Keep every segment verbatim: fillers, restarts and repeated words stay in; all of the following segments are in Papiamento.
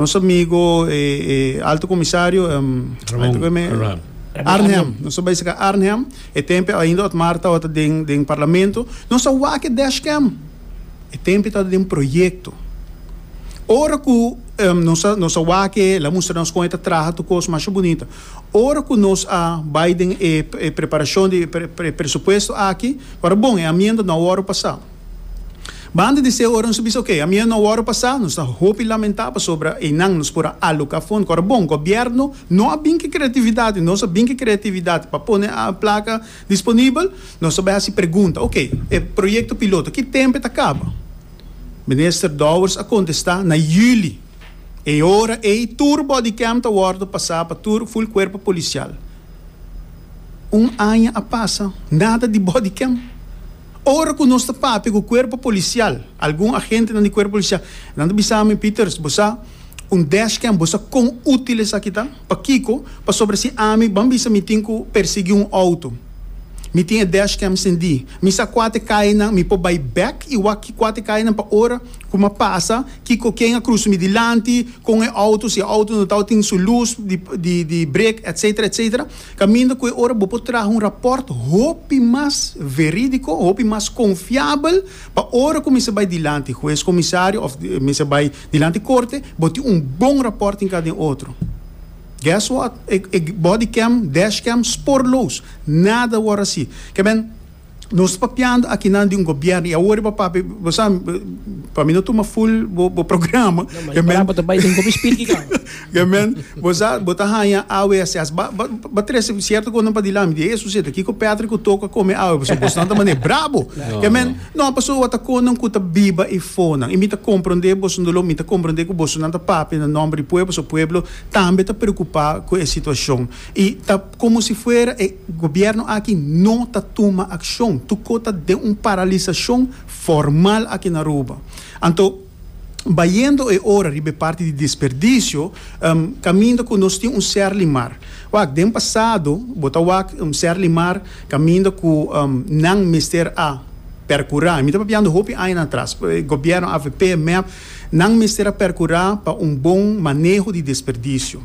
Nos amigo eh, eh, alto comisario um, Ramon Arnhem. Nos a bay serca Arnhem. E tempo ainda Otmar tabata den, den parlamento. Nos a wak e dashcam. E tempo tabata den proyecto. Ora cu um, nos nos a wak e, el a mustra nos con e ta traha, tur cos mas bunita. Ora cu nos a bay den e, e preparacion di pre, pre, presupuesto aki, awor bon, e amienda no a pasa. Banda di esey ora nos bisa, ok, amienda no a pasa, nos ta hopi lamenta pasobra einan nos por a aloca fondo. Awor bon, gobierno no a bin cu creatividad, nos a bin cu creatividad pa pone e placa disponibel, nos a bay pregunta, ok, e proyecto piloto, ki tempo ta caba? Minister Dowers a contesta na juli. E ora e tur bodycam ta wordo pasa pa tur full cuerpo policial. Un aña a pasa, nada di bodycam. Ora cu nos ta papia cu cuerpo policial, algun agente di cuerpo policial, nan ta bisa mi, "Peters, bo sa un dashcam, bo sa con util esaki ta? Pakico? Pasobra si ami, ban bisa mi tin cu persigui un auto. Mi tin e dashcam cendi. Mi sa cua ta e cayanan, mi por bay back y wak cua ta e cayanan pa ora cu mi pasa, cu ken a crusa mi dilanti, cu e auto, si e auto no tin su luz di, di, di brake, et cetera et cetera. Caminda cu ora bo por traha un rapport hopi mas veridico, hopi mas confiabel, pa ora cu mi bay dilanti hues, comisario, of mi bay dilanti corte, bo tin un bon rapport den cada otro. Guess what? E, e bodycam, dashcam, spoorloos. Nada ora asina. Kiermen, nos papiando aki nan di un gobierno y awor pa bo pa mi no tuma full bo, bo programa. Kiermen, pa bay den kopi speed ka. Kiermen, bo bo ta haya A W S S ba ba, ba trece cierto con pa dilanti di eso seta kiko Patrick toca come awe, bo bo nan ta mane brabo. Kiermen, no paso wata con ku ta biba e fona. Y mi ta comprende bo ndolo, mi ta comprende cu bo nan ta papia na nomber di pueblo, so pueblo tambe ta preocupa cu e situacion. Y ta como si fuera e gobierno aki no ta tuma accion. Tur cos ta den un paralisacion formal aki na Aruba. Anto, bayendo e ora riba parti di desperdicio, um, caminda cu nos tin un Serlimar. Wak, den pasado, bo ta wak un Serlimar, caminda cu um, nan mester a percura. Mi ta papiando hopi aña atras. Gobierno A V P, M E P, nan mester a percura pa un bon maneho di desperdicio.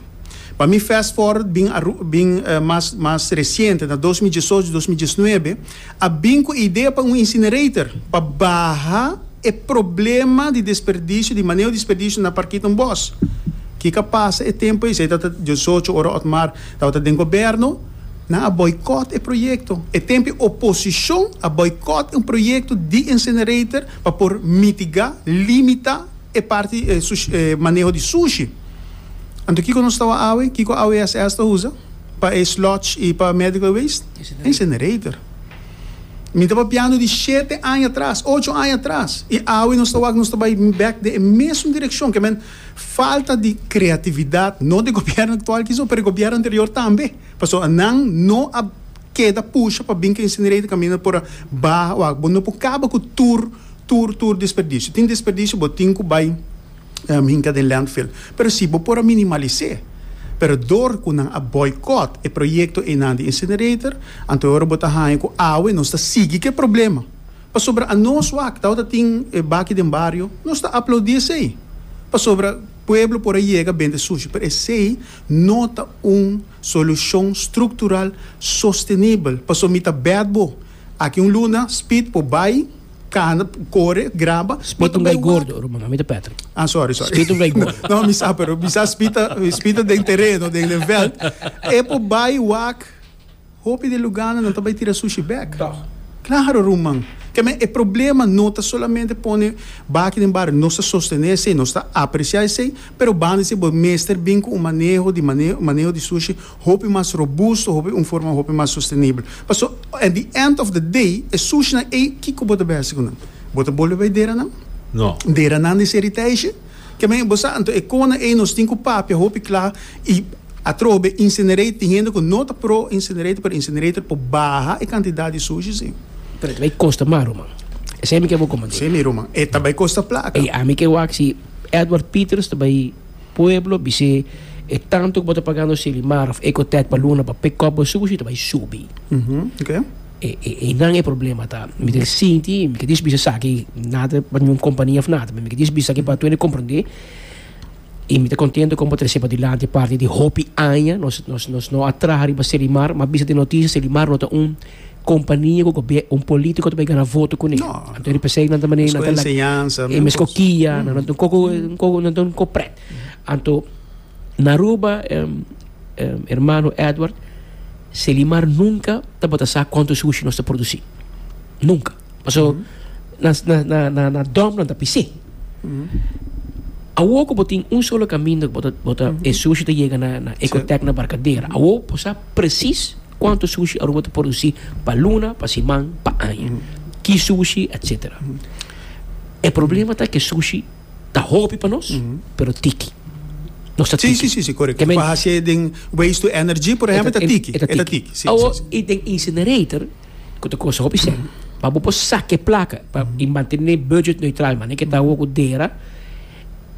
Pa mi fast forward bin, bin uh, mas mas reciente, na dos mil diesocho, dos mil diesnuebe, a bin cu idea pa un incinerator, pa baha e problema di desperdicio, di maneho di desperdicio na Parkietenbos. Kico a pasa e tempo ey, ta diesocho ora Otmar tabata den gobierno, nan a boycott e proyecto. E tempo oposicion a boycott un proyecto di incinerator pa por mitiga, limita e parti eh, sushi, eh, maneho di sushi. Anto kiko nos ta awe, kiko A W S S ta usa pa e sludge y pa medical waste? Incinerator. Mi ta papiando di shete aña atras, ocho aña atras. Y awe nos ta nos ta bay back den mesun direccion, kiermen falta di creatividad, no di gobierno actual cu pero gobierno anterior tambe. Paso nan no a keda pusha pa bin cu incinerator caminda por baha, bo no por caba cu tur tur tur desperdicio. Tin desperdicio bo tin cu bay um, hinca den landfill. Pero si bo por minimalisa. Pero door cu nan a boycott e proyecto einan di incinerator, anto ora bo ta haya cu awe nos ta sigui cu e problema. Pasobra anos wak, ta tin e baki den bario, nos ta aplaudi esey. Pasobra pueblo por yega bende sushi, pero esey no ta un solucion structural sostenibel. Paso mi ta bet bo. Aki un luna, Speed por bay, cana, core, graba. Speed un gai gordo, ruman, mi ta Patrick. Ah, sorry, sorry. Speed un gai gordo. No, mi sa, pero mi sa Speed, Speed den tereno, den den veld. E por bay wak, hopi di lugar nan ta bay tira sushi back. Claro, ruman. Kiermen, e problema no ta solamente pone baki den bario, nos ta sostene esey, nos ta aprecia esey, pero banda di bo mester bin cu un maneho di maneho, maneho di sushi hopi mas robusto, hopi un forma hopi mas sostenibel. Paso at the end of the day, e sushi nan e kiko bo ta bay haci cu nan? Bo ta bolbe bay dera nan? No. Dera nan di seritage? Kiermen, bo sa, anto e cosnan e nos tin cu papia hopi cla y atrobe incinerator, tin hende cu no ta pro incinerator, pero incinerator por baha e cantidad di sushi, si. Pero bay costa mas, ruman. Esey mi kier comenta. Si, mi ruman. E tambe costa placa. E ami kier wak si Edward Peters tambe pueblo bis'e e tanto cu bo ta pagando Serlimar of Ecotech pa luna pa pick up e sushi tambe subi. Uhum, ok. E e e nan e problema ta. Mi ta sinti, mi ke bisa esaki nada pa ningun compania of nada, mi ke bisa aki pa tur comprende. I mi ta kontentu ku trese padilanti parti di hopi aña, nos nos nos no a traha riba Selimar, m'a bisa den notisia Selimar no ta un kompania ku un polítiko ta bai gana voto kuné. No. Anto riba esei nan ta manera nan ta enseñansa. E mes kokia, nan ta un koko un koko nan ta un kopret. Anto na Aruba, um, um, hermano Edward, Selimar nunka tabata sa kuantu sushi nos ta produsí. Nunka. Paso na na na na na dump nan ta pis'é. Awor ku bo tin un solo kaminda ku bo ta bo ta e sushi ta yega na na Ecotec na Barcadera. Awor bo sa presis kuantu sushi Aruba ta produsí pa luna, pa siman, pa aña. Ki sushi, etcétera. E problema ta ku sushi ta hopi pa nos, pero tiki. Nos ta Sí, tiki. sí, sí, sí, korekto. Ke men- Pa hasi den waste to energy, por ehèmpel, ta tiki. E ta E ta tiki. tiki. Sí, Awor, sí, sí. i den incinerator, ku ta kosta hopi sèn, pa bo por saka e plaka pa i mantené budget neutral, manera ku ta awor ku dera,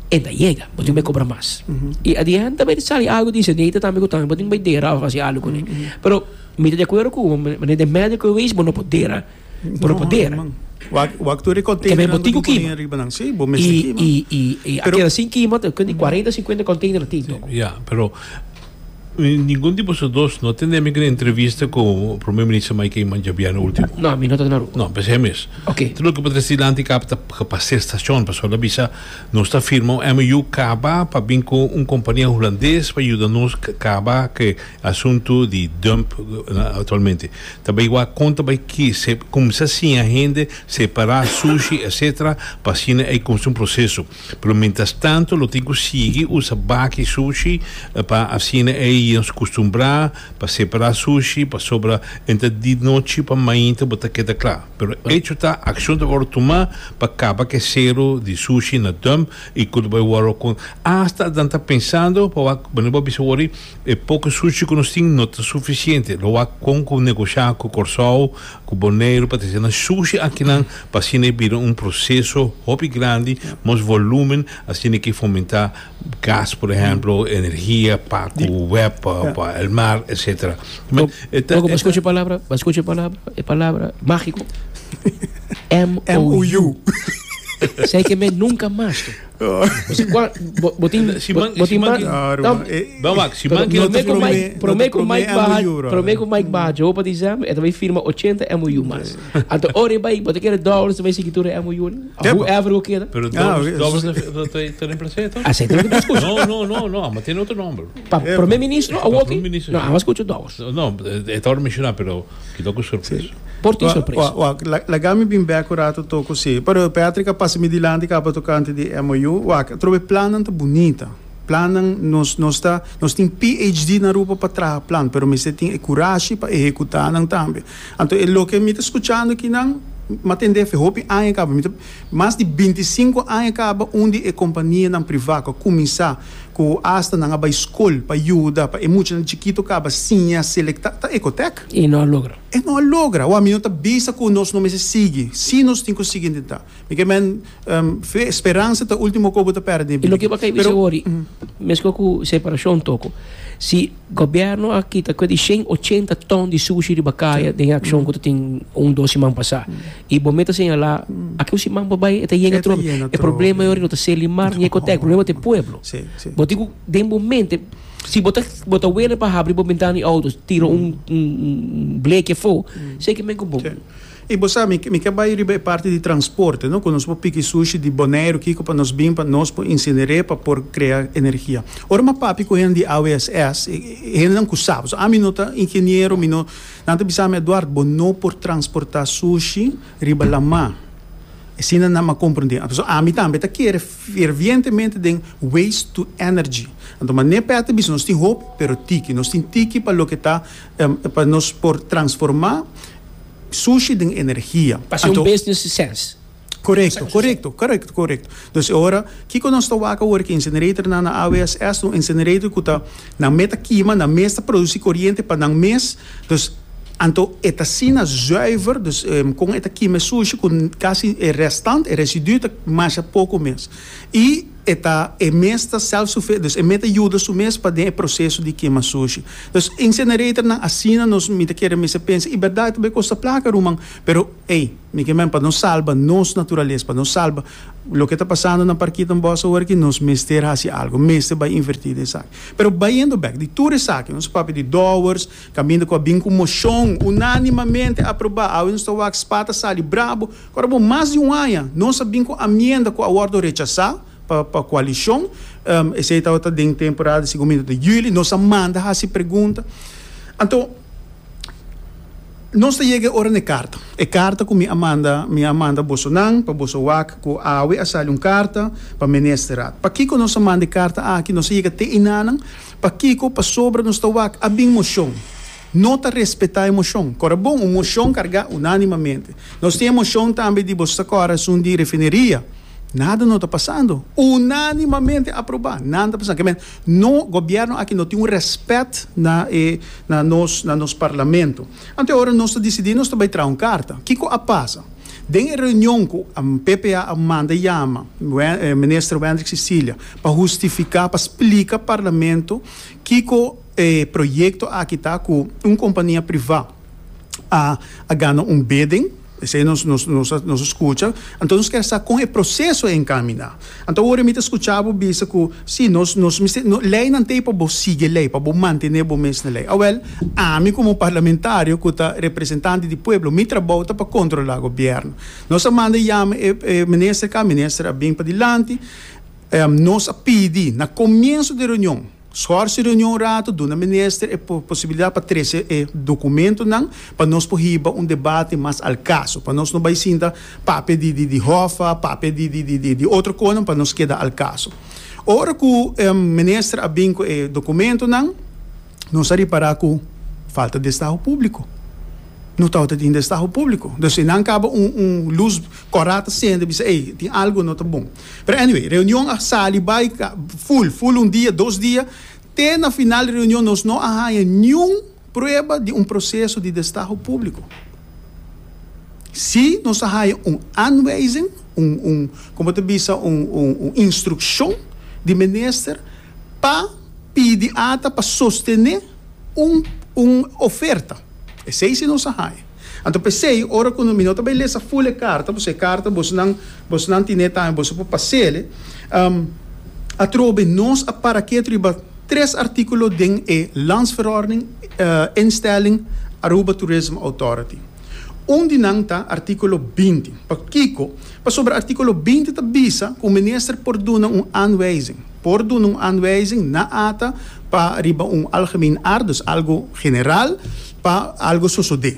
e ta yega, bo tin ku kobra mas. I adianta bai sali algu di incinerator tambe ku tambe bo tin bai dera òf hasi algu kuné. Pero mi ta di akuerdo ku bo, manera den medical waste bo no por dera, bo no por dera. Man. Wak wak tur e Ke container men bo tin ku kima. riba nan. Sí, bo mester I kima. i i i Pero- a keda sin kima, te kundi kuarenta, sinkuenta container tin toko. Ja, pero ningun di boso dos no tende mi entrevista ku Promé Minister Mike Eman djabièrnè último. No, mi no ta na Aruba. No, pensei mes. Ok. Tur loke por dilanti kaba pa ser station, pasobra el a bisa nos ta firma un M O U kaba pa bin ku un kompania hulandes pa yuda nos kaba ku asuntu di dump eh, aktualmente. Tambe igual konta bai ku se kuminsá siña hende separá sushi, etcétera pa asina ei kuminsá un proseso. Pero mientras tanto lo tin ku sigui usa baki sushi eh, pa asina ei nos kustumbrá pa separá sushi pasobra entre di nochi pa mainta bo ta keda kla. Pero hecho ta, akshon ta wòrdu tumá pa kaba ku sero di sushi na dump i ku bai wòrdu ku hasta nan ta pensando pa bueno bo bisa wori e poko sushi ku nos tin no ta sufisiente. Lo wak kon ku negoshá ku Kòrsou, ku Boneiru pa trese nan sushi akinan pa asina bira un proseso hopi grandi, mas volumen, asina ku fomentá gas, por ehèmpel, energia pa ku W E B, pa, pa el mar, etcétera. Loco, mas skucha e palabra, mas skucha e palabra, e palabra mágiko. M O U. M O U. Sei ke men nunka mas. Osea, kua, bo, bo tin, Si man- bo tin si man- ma- Claro, no, eh, Vamos lá, si pero man que promé ku promé- Mike, promé no ku te Mike promé baha, M O U, brother. promé ku Mike baha, joe pa dezèmber, e ta bai firma ochenta M O U mas. Anto ora bai, bo ta kere dòlars bai sigui tur M O U, Ja, whoever ku keda. Pero Ah, dobbels, ok. dobbels ta ta reemplasá toch? Asina ta diskurso. No, no, no, no, ma tin otro nòmber. Pa promé minister, Pa a promé minister, No, sí. m'a skucha dòlars. No, e ta menshoná, pero ku ku sorpresa. Por tin Wa- sorpresa. wa- wa, la- Laga mi bin bèk un ratu toko sí. Pero Patrick a pasa mi dilanti kaba tokante di M O U. Wak, trobe plannan ta bunita. Plannan nos nos ta nos tin P H D na Aruba pa traha plan, pero mester tin e kurashi pa ehekutá nan tambe. Anto, e loke mi ta skuchando akinan, m'a tende fe hopi aña kaba, mi ta mas di bintisinku aña kaba un di e kompanianan privá ku kuminsá ku hasta nan a bai skol pa yuda pa e muchanan chikitu kaba siña selektá ta Ecotec. I no a logra. E no a logra. O mi no ta bisa ku nos no mester sigui. Si nos tin ku sigui intentá. Mi ke men um, fe, speransa ta último ku bo ta pèrdè. I loke bo a Pero- bisa, mesun ku separashon toko. Si gobièrnu aki ta ku di shen ochenta ton di sushi di bakaya den akshon ku tin un dos siman pasá. I bo meta señalá aki un siman bai e ta yega E ta trobe. yena E problema trobe. ei no ta Selimar ni Ecotec, e problema ta pueblo. Sí, sí. Bo digo den momento si bo ta bo ta wele pa habri bo bentana di outo, tira un un, un bleke fo, sei ke men ku bom. Sí. I bo sabi, mi, mi ke bai riba e parti di transporte, no? Ku nos por piki sushi di Boneiru, kiko pa nos bin pa nos por incinerá pa por krea energia. Ora m'a papia ku hende di A W S S, hendenan ku sabi. So, ami no ta ingeniero, mi no, nan ta bisa mi, "Eduardo, bo no por transportá sushi riba laman." Asina nan a komprondé. So, ami tambe ta kere fervientemente den waste to energy. Anto, ma ne pete bis, nos tin hopi, pero tiki. Nos tin tiki pa loke ta, um, pa nos por transformá sushi den energia. Pa un Anto, business sense. Korekto, korekto, korekto, korekto. Dus ora, kiko nos ta wak awor ku incinerator na na A W S S, un incinerator ku ta nan mes ta kima, nan mes ta produsí koriente pa nan mes. Dus anto e ta asina zuiver, dus um, kon e ta kima sushi ku kasi e restante, e residuo ta mas poko mes. I E ta e mes ta self-sufficient, dus e mes ta yuda su mes pa den e proceso di kema sushi. Dus incinerator nan asina nos mi ta kere mester pensa. Y berdad ta bay costa placa, ruman, pero ey, mi ke men pa nos salba nos naturalesa, pa nos salba loke ta pasando na Parkietenbos awor aki, nos mester haci algo, mester bay inverti den esaki. Pero bayendo bek di tur esaki, nos papia di Dowers, caminda cu a bin cu mocion unanimamente aproba, awe nos ta wak SPA ta sali brabo, ora bo mas di un aña nos a bin cu amienda cu a wordo rechasa pa pa coalicion, esey tabata den temporada segun mi ta juli, nos a manda haci pregunta. Anto nos ta yega e ora na e karta. E karta ku mi a manda, mi a manda bosonan pa boso wak ku awe a sali un karta pa Ministerraad. Pakiko nos a manda e karta aki? Nos a yega te enanan. Pakiko? Pasobra nos ta wak a bin moshon. No ta respetá e moshon. Kòrda bon, un moshon kargá unánimamente. Nos tin e moshon tambe di boso ta kòrda esun di refineria. Nada no ta pasando. Unánimamente aprobá. Nada ta pasando. Ke men, no, gobièrnu aki no tin un rèspèt na e, na nos, na nos parlamento. Anto e ora nos ta disidí nos ta bai traha un karta. Kiko a pasa? Den e reunion ku P P A a manda yama Minister Wendrick Cecilia pa hustifiká, pa splika parlamento kiko e proyekto aki ta ku un kompania privá a a gana un bidding, esei nos nos nos a nos a skucha, anto nos kier sa kon e proseso a enkaminá. Anto awor mi ta skucha bo bisa ku si nos nos mester no leinan t'ei pa bo sigui lei, pa bo mantené bo mes na lei. Awèl, ami komo parlamentario ku ta representante di pueblo, mi trabou ta pa kontrolá gobièrnu. Nos a manda yama e e minister ka, minister a bin padilanti, nos a pidi na komienso di reunion, Schors e reunion un rato, duna minister e posibilidad pa trece e documentonan pa nos por hiba un debate mas al caso, pa nos no bay sinta papia di di di Hoffa, papia di di di di otro conan, pa nos keda al caso. Ora cu minister a bin cu e documentonan, nos a ripara cu falta destaho publico. No tabata tin destaho publico. Dus nan caba un un luz cora ta cende bisa ey tin algo no ta bon. Pero anyway, reunion a sali bay full, full un dia, dos dia, te na final di reunion nos no a haya niun prueba di un proceso di destaho publico. Si nos a haya un aanwijzing, un un como ta bisa un un un instruccion di minister pa pidi ata pa sostene un un oferta. Esei si nos a haña. Anto p'esei, ora ku mi no ta bai lesa ful e karta, pasobra e karta bosonan bosonan tine tambe, boso por pas'el, atrobe nos a para ketu riba tres artíkulo den e Landsverordening Instelling Aruba Tourism Authority. Un di nan ta artíkulo binti. Pakiko? Pasobra artíkulo binti ta bisa ku minister por duna un aanwijzing. Por duna un aanwijzing na ata pa riba un algemeen aard, dus algo general, pa algo sosodé.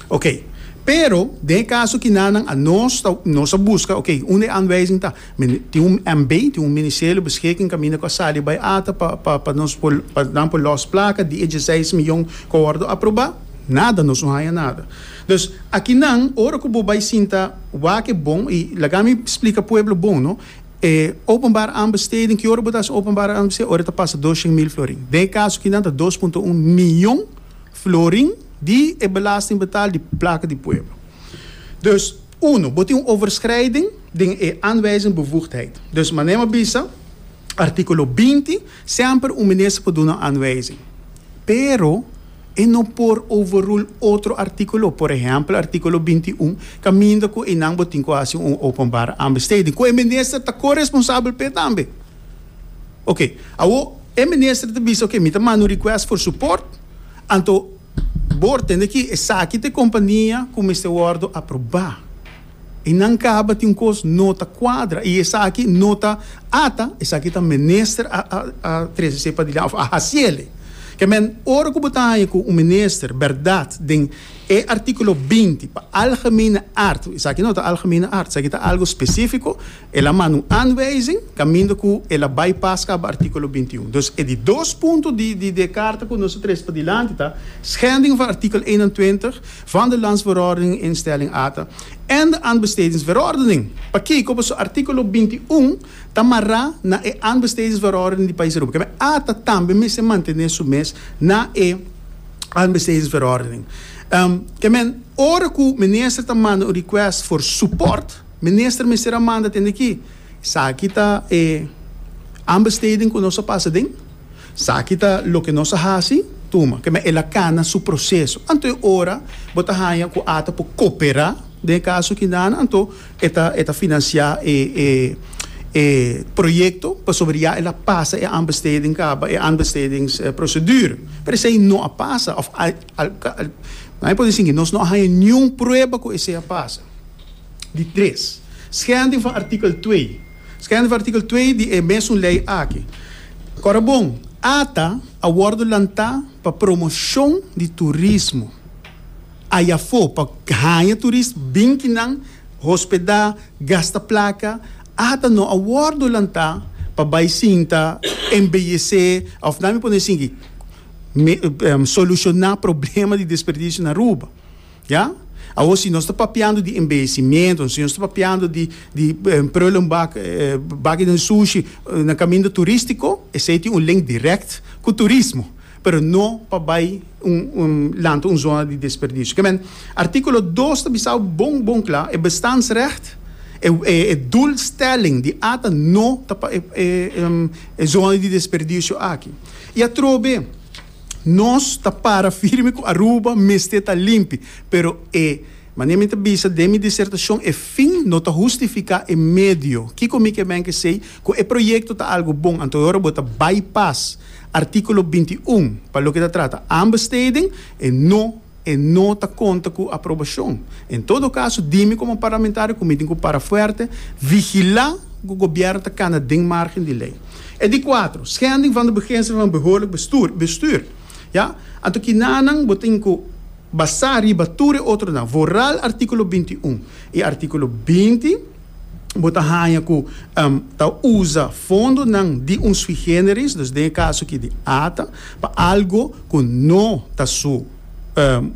Ok. Pero, den e kaso kinanan a nos ta, nos a buska, ok, unda e aanwijzing ta? Men, tin un M B, tin un Ministerio Beschikking kaminda ku a sali bai ata pa, pa, pa nos por, pa nan por lòs plaka di e dieseis miyon ku a wòrdu aprobá? Nada, nos no haña nada. Dus, akinan, ora ku bo bai sinta wak e bon, i laga mi splika pueblo bon, no? E openbare aanbesteding, ki ora bo ta hasi openbare aanbesteding? Ora ta pasa doshen mil florin. Den e kaso kinan ta dos punto un miyon florin di e belastingbetaal di plaka di pueblo. Dus, uno, bo tin un overschrijding den e aanwijzing bevoegdheid. Dus, manera mi a bisa, artíkulo binti, semper un minister por duna un aanwijzing. Pero, e no por overrule otro artíkulo. Por ehèmpel, artíkulo binti un, kaminda ku einan bo tin ku hasi un openbare aanbesteding, ku e minister ta koresponsabel p'e tambe. Oké, awor e minister ta bisa, oké, mi ta manda un request for support, anto bo tende ki esaki ta e kompania ku mester wòrdu aprobá. I nan kaba tin un kos no ta kuadra, i esaki no ta ata, esaki ta minister a, a, a trese esei padilanti, òf a hasiel. Ke men, ora ku bo ta haña ku un minister bèrdat den e artíkulo binti pa algemene aard, esaki no ta algemene aard, esaki ta algu spesífiko, el a manda un aanwijzing kaminda ku el a bypass kaba artíkulo binti un. Dus e di dos punto di, di, di e karta ku nos a trese padilanti ta schending van artikel eenentwintig van de Landsverordening Instelling A T A en de Aanbestedingsverordening. Pakiko? Pasobra artíkulo binti un ta mará na e Aanbestedingsverordening di pais Aruba. Ke men A T A tambe mester mantené su mes na e Aanbestedingsverordening. Ehm, ke men, ora ku minister ta manda un request for support, minister mester a manda tende ki Esaki ta e aanbesteding ku nos a pasa den, esaki ta loke nos a hasi, tuma, ke men el a kana su proseso. Anto e ora bo ta haña ku ATA por koperá den e kaso kinan, anto e ta e ta finansiá e e e proyekto pasobra ya el a pasa e aanbesteding kaba, e aanbestedingsprocedure. Pero esei no a pasa òf al al al nan e por di nos no a haña niun prueba ku esei a pasa. Di tres, schending van artikel twee. Schending van artikel twee di e mesun lei aki. Kòrda bon, ATA a wòrdu lantá pa promoshon di turismo. Ayafó pa haña turist bin kinan, hospedá, gasta plaka. ATA no a wòrdu lantá pa bai sinta, embeyesé òf nan mi pone esaki, me, solushoná problema di desperdisio na Aruba. Ya? Awor si nos ta papiando di embeyecimiento, si nos ta papiando di di prullenbak, baki den sushi na kaminda turístiko, esei tin un link dirèkt ku turismo, pero no pa bai un un lanta un zona di desperdisio. Ke men, artíkulo dos ta bisa bon bon kla, e bestaansrecht, e e doelstelling di ATA no ta pa e e e zona di desperdisio aki. I atrobe, nos ta para firme ku Aruba mester ta limpi, pero e manera mi ta bisa den mi disertashon, e fin no ta hustifiká e medio. Kiko mi ke men ke esei? Ku e proyekto ta algu bon, anto ora bo ta bypass artíkulo binti i un pa loke ta trata aanbesteding, e no e no ta konta ku aprobashon. En todo kaso, di mi komo parlamentario ku mi tin ku para fuerte, vigilá ku gobièrnu ta kana den margen di lei. E di kuatro, schending van de beginselen van behoorlijk bestuur, bestuur. Ya? Anto kinanan bo tin ku basá riba tur e otronan, vooral artíkulo binti i un i artíkulo binti, bo ta haña ku ta usa fondonan di un sui generis, dus den e kaso aki di ATA, pa algo ku no ta su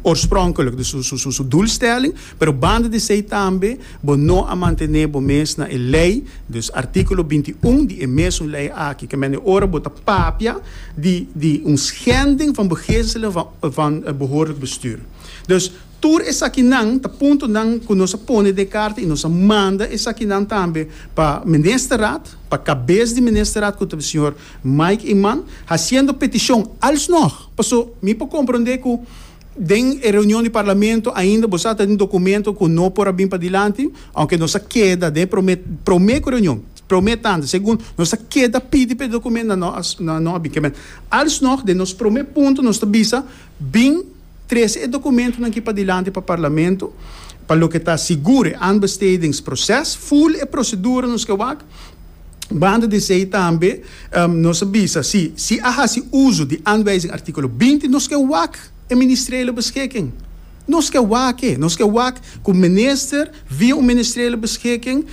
oorspronkelijk, dus su su su doelstelling, pero banda di esei tambe bo no a mantené bo mes na e lei, dus artíkulo binti i un di e mesun lei aki, ke mende ora bo ta papia di di un schending van beginselen van van behoorlijk bestuur. Dus tur esakinan ta puntonan ku nos a pone den e karta i nos a manda esakinan tambe pa Ministerraad, pa kabes di Ministerraad ku ta señor Mike Eman, hasiendo petishon alsnog, paso mi por komprondé ku den e reunion di Parlamento ainda bo sa ta den documento cu no por a bin padilanti, aunke nos a keda den e prome prome cu reunion, prome tanda, segun nos a keda pidi pa e documento nan no a nan no a bin. Kimen alsnog den nos prome punto nos ta bisa bin trece e documentonan aki padilanti pa Parlamento pa loke ta sigur e aanbestedingsproces, ful e procedura nos ke wak. Banda di esei tambe nos a bisa si si a hasi uso di aanwijzing artíkulo binti nos ke wak e ministeriële beschikking. Nos ke wak e. Nos ke wak ku minister via un ministeriële beschikking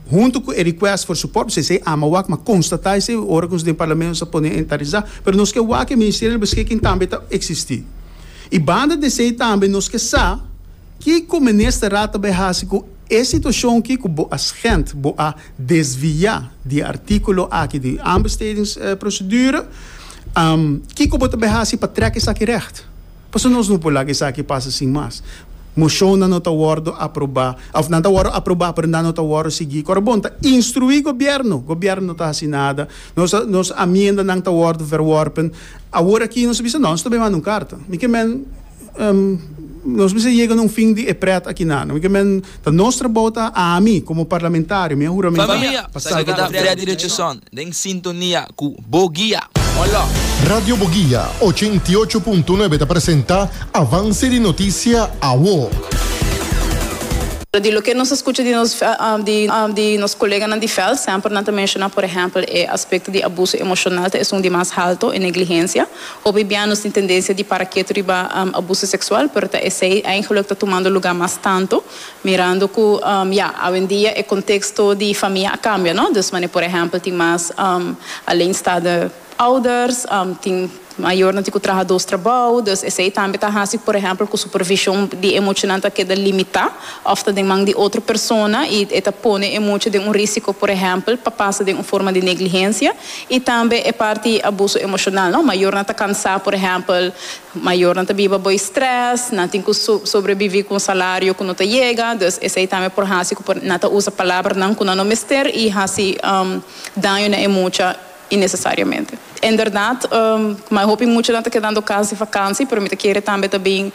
huntu ku e request for support, pasobra esei ama wak, ma konstatá esei ora ku nos den parlamento nos a pone inventarisá, pero nos ke wak e ministeriële beschikking tambe ta eksistí. I banda di esei tambe nos ke sa kiko ministerraad ta bai hasi ku e situashon ki ku bo a schend, bo a desviá di e artíkulo aki di aanbestedingsprocedure, kiko bo ta bai hasi pa trèk esaki règt? Pasobra nos no por laga esaki pasa sin mas. Moshonnan no ta wòrdu aprobá, òf nan ta wòrdu aprobá pero nan no ta wòrdu sigui. Kòrda bon, ta instruí gobièrnu, gobièrnu no ta hasi nada, nos nos amiendanan ta wòrdu verworpen. Awor aki nos a bisa, no, nos ta bai manda un karta. Mi ke men nos mester yega na un fin di e pret aki nan. Mi ke men ta nos trabou ta ami komo parlamentario, mi a huramentá Famia, pa sa salba keda nos. Freddy Richardson den sintonia ku Bo Guia. Hola! Radio Boguia ochenta i ocho punto nuebe ta presenta Avance di Noticia Awo. Pero di loke nos a skucha di nos di di nos koleganan di veld, semper nan ta menshoná por ehèmpel e aspekto di abuso emoshonal ta esun di mas halto, e negligensia. Hopi bia nos tin tendensia di para ketu riba abuso seksual, pero ta esei eigenlik ta tumando lugá mas tantu, mirando ku ya, awendia e konteksto di famia a kambia, no? Dus manera por ehèmpel tin mas alleenstaande. Ouders, um, tin mayornan tin ku traha dos trabou, dus esei tambe ta hasi, por ehèmpel, ku supervishon di e muchanan ta keda limitá, òf ta den man di otro persona i e ta pone e mucha den un rísiko, por ehèmpel, pa pasa den un forma di negligensia. I tambe e parti abuso emoshonal, no? Mayornan ta kansá, por ehèmpel, mayornan ta biba bou stress, nan tin ku sobreviví ku un salario ku no ta yega, dus esei tambe por hasi ku nan ta usa palabranan ku nan no mester i hasi um, daño na e mucha innesesariamente. Inderdaad, um, ma hopi mucha ta kedando kas di vakantie, pero mi ta kere tambe tambe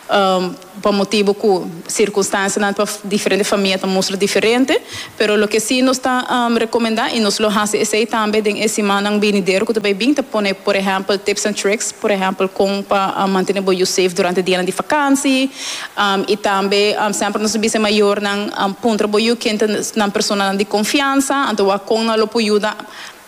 um, pa motibu ku sirkunstansianan pa diferente famia ta mustra diferente, pero loke sí nos ta um, rekomendá i nos lo hasi esei tambe den e siman benidero ku tambe bin ta pone, por ehèmpel, tips and tricks, por ehèmpel, kon pa um, mantené bo safe durante dia di vakantie, um, i tambe um, semper nos bisa mayornan um, puntra bo yu ken ta nan persona di konfiansa, anto kon nan lo por yuda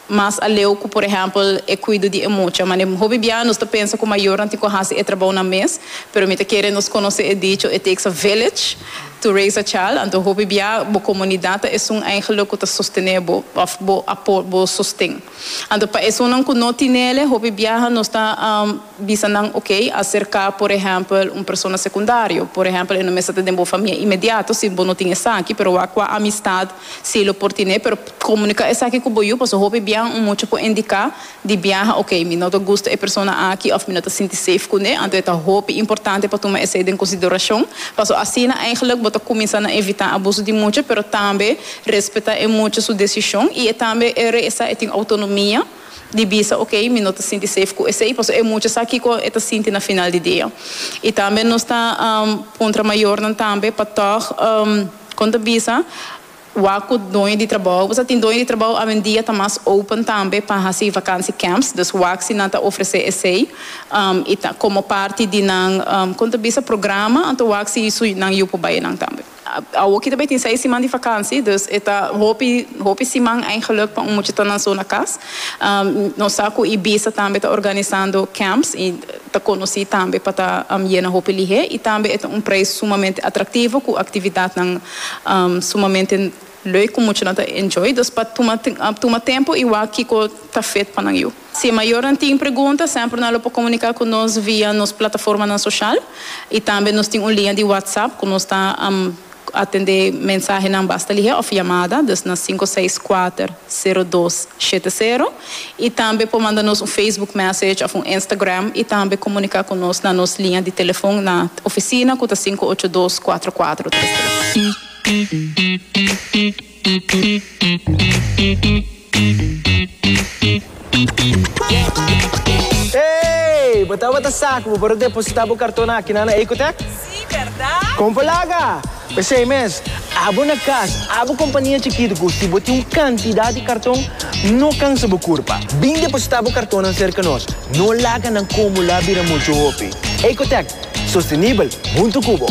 mas aleu ku, por ehèmpel, e kuido di e mucha. Ma hopi bia nos ta pensa ku mayornan tin ku hasi e trabou nan mes, pero mi ta kere nos konosé e dicho "It takes a village to raise a child". Anto hopi bia bo komunidat ta un eigenlijk ku ta sostené bo òf bo apo bo sosten. Anto pa esunnan ku no tin e, hopi bia nos ta um, bisa nan, ok, aserká, por ehèmpel, un persona sekundario, por ehèmpel, no mester ta den bo famia inmediato si bo no tin esaki, pero ku amistat si lo por tin, pero komuniká esaki ku bo yu, paso hopi bia un mucha por indiká di biaha, ok, mi no ta gusta e persona aki òf mi no ta sinti safe kuné. Anto ta hopi importante pa tuma esei den konsiderashon. Paso asina eigenlijk bo ta kuminsá na evitá abuso di mucha, pero tambe respetá e mucha su desishon i tambe e e tin outonomia di bisa, ok, mi no ta sinti safe ku esei, paso e mucha sa kiko e ta sinti na final di dia. I tambe nos ta um, puntra mayornan tambe pa toch um, kon ta bisa, wak ku doño di trabou. Bo tin doño di trabou awendia ta mas open tambe pa hasi vakantie camps, dus wak si nan ta ofresé esei um, i ta, komo parti di nan um, kon ta bisa, programa, anto wak si su nan yu por bai nan tambe. Aki tambe tin seis siman di vakantie, dus e ta hopi hopi siman eigenlijk pa un mucha ta nan so na kas. Um, nos sa ku Ibisa tambe ta organisando camps i ta konosí tambe pa ta um, yena hopi lihé i tambe e un preis sumamente atraktivo ku aktividatnan um, sumamente leuk ku mucha nan ta enjoy, dus pa tuma tuma tempu i wak kiko ta fit pa nan yu. Si mayornan tin pregunta, semper nan por komuniká ku nos via nos plataformanan sosial i tambe nos tin un liña di WhatsApp ku nos ta um, atendé mensahenan basta lihé òf yamada, dus na sinku seis kuater, sero dos shete sero, i tambe por manda nos un Facebook message òf un Instagram i tambe komuniká ku nos na nos liña di telefòn na ofisina ku ta sinku ocho dos kuater kuater tres tres. Hey, bo tabata sa ku bo por depositá bo karton aki na Ecotech? Si, berdat? Kon laga? P'esei mes, abo na kas, abo kompania chikitu, si bo tin un kantidat di karton, no kansa bo kurpa. Bin depositá bo karton serka nos. No laga nan akumulá bira muchu hopi. Ecotech, sostenibel, huntu ku bo.